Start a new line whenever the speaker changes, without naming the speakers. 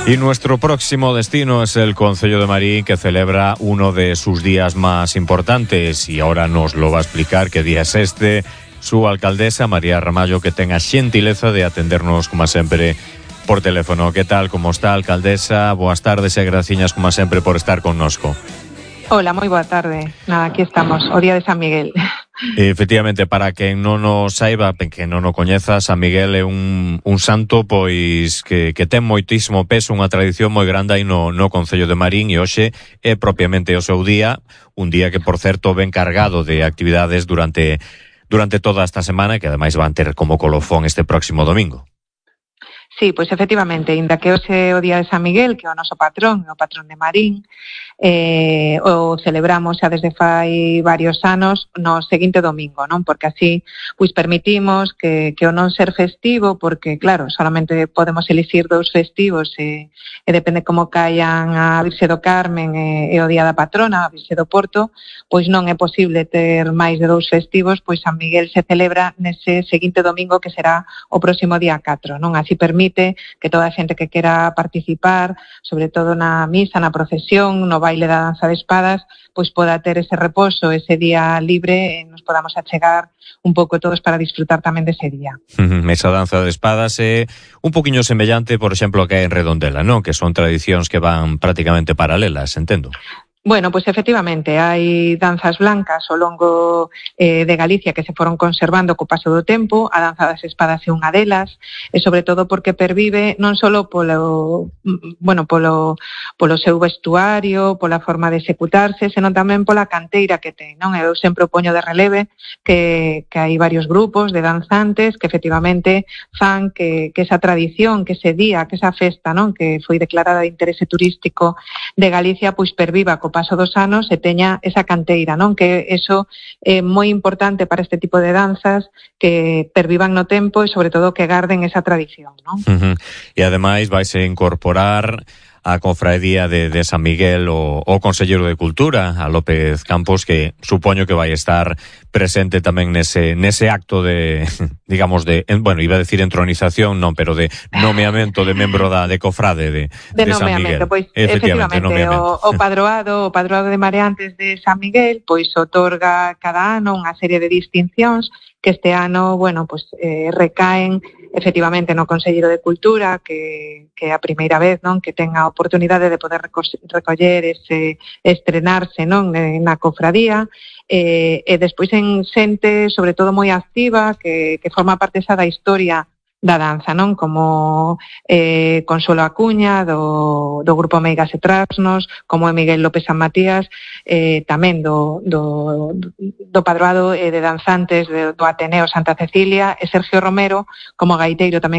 Y nuestro próximo destino es el Concello de Marín, que celebra uno de sus días más importantes, y ahora nos lo va a explicar qué día es este su alcaldesa, María Ramallo, que tenga xentileza de atendernos, como sempre, por teléfono. ¿Qué tal? ¿Cómo está, alcaldesa? Boas tardes e graciñas, como sempre, por estar connosco.
Hola, moi boa tarde. Nada, aquí estamos, o día de San Miguel.
Efectivamente, para quen non o saiba, que non o coñeza, San Miguel é un santo pois que ten moitísimo peso, unha tradición moi grande aí no Concello de Marín, e hoxe é propiamente o seu día, un día que, por certo, ven cargado de actividades durante toda esta semana, que ademais van ter como colofón este próximo domingo.
Sí, pois efectivamente, inda que hoxe o día de San Miguel, que é o noso patrón, o patrón de Marín, o celebramos xa desde fai varios anos no seguinte domingo, non? Porque así pois permitimos que o non ser festivo, porque claro, solamente podemos elixir 2 festivos e depende como caian a Virxe do Carmen e o día da patrona, a Virxe do Porto, pois non é posible ter máis de 2 festivos, pois San Miguel se celebra nese seguinte domingo, que será o próximo día 4, non? Así permite que toda a xente que quera participar, sobre todo na misa, na procesión, no baile da danza de espadas, pois poda ter ese reposo, ese día libre, e nos podamos achegar un pouco todos para disfrutar tamén dese día.
Esa danza de espadas é un poquinho semellante, por exemplo, que hai en Redondela, non? Que son tradicións que van prácticamente paralelas, entendo.
Bueno, pois efectivamente, hai danzas blancas ao longo de Galicia que se foron conservando co paso do tempo. A danza das espadas é unha delas, e sobre todo porque pervive non só polo seu vestuario, pola forma de executarse, senón tamén pola canteira que ten, non? Eu sempre o poño de releve que hai varios grupos de danzantes que efectivamente fan que esa tradición, que ese día, que esa festa, non? Que foi declarada de interese turístico de Galicia, pois perviva co paso dos anos e teña esa canteira, non? Que eso é moi importante para este tipo de danzas, que pervivan no tempo e sobre todo que garden esa tradición, non?
E ademais vaise incorporar a cofradía de San Miguel o Conselleiro de Cultura, a López Campos, que supoño que vai estar presente tamén nese acto de, digamos, bueno, iba a decir entronización, non, pero de nomeamento de membro de cofrade de San Miguel.
Pois, efectivamente, o padroado de mareantes de San Miguel, pois otorga cada ano unha serie de distincións que este ano, bueno, pois recaen efectivamente no Conselleiro de Cultura, que é a primeira vez, non, que ten a oportunidade de poder recoller estrenarse, non, na cofradía, e despois en xente, sobre todo moi activa, que forma parte xa da historia da danza, non? Como Consuelo Acuña do grupo Meigas e Trasnos, como Miguel López San Matías, tamén do padroado de danzantes do Ateneo Santa Cecilia, e Sergio Romero como gaiteiro tamén